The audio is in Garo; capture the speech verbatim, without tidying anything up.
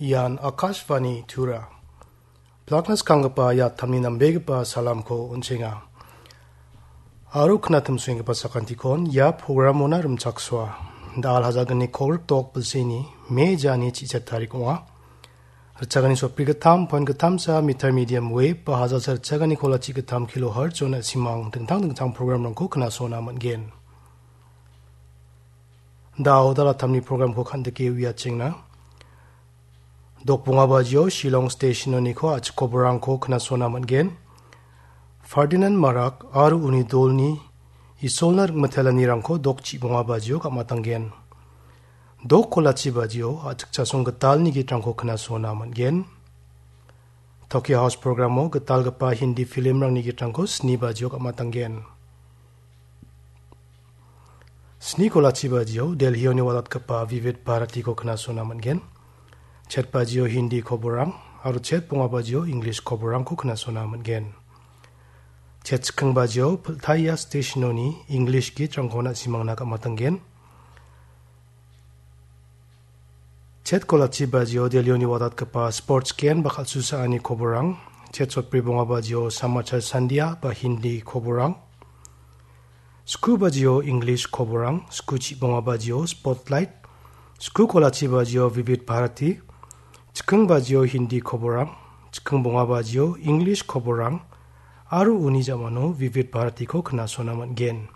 Ian Akashvani Tura. Plakna skanggipa ia tamni nambegipa salamko on·chenga. Aro knatimsoenggipa sakantikon ia programona rimchaksoa. Da·al hajalgni kolgrik dok bilseni Me jani chi·chet tarik ong·a. Ritchagani sotbrigittam poin gittamsa meter medium wave ba hajalsa ritchagani kolachi gittam kilohertz-ona simang dingtang dingtang programrangko knasona man·gen. Da·o dalatamni programko kandike uiachengna. Dok bonga bajio Shillong Station-oniko a·chik koborangko knasona man·gen. Ferdinand Marak aro uni dolni Isolna ringmitelanirangko dok chibonga bajio gam·atanggen. Dok kolachi bajio a·chik chasong gitalni gitrangko knasona man·gen. Tokyo House programo gitalgipa Hindi filmrangni gitrangko sni bajio gam·atanggen. Sni kolachi bajio Delhi-oni walatgipa Vivid Bharatiko knasona man·gen. Chet bajio Hindi koborang aro chet bonga bajio English koborangko knasona man·gen. Chet chikking bajio Piltaya Station-oni English gitrangko na·simangna gam·atanggen. Chet kolachi bajio Delhi-oni wadatgipa sports gen ba kal·susaani koborang. Chet sotbri bonga bajio Samachar Sandhya ba Hindi koborang. Sku bajio English koborang. Sku chibonga bajio Spotlight. Sku kolachi bajio Vivid Bharati. Chikking bajio Hindi koborang. Chikking bonga bajio English koborang. Aro uni jamano Vivid Bharatiko knasona man·gen.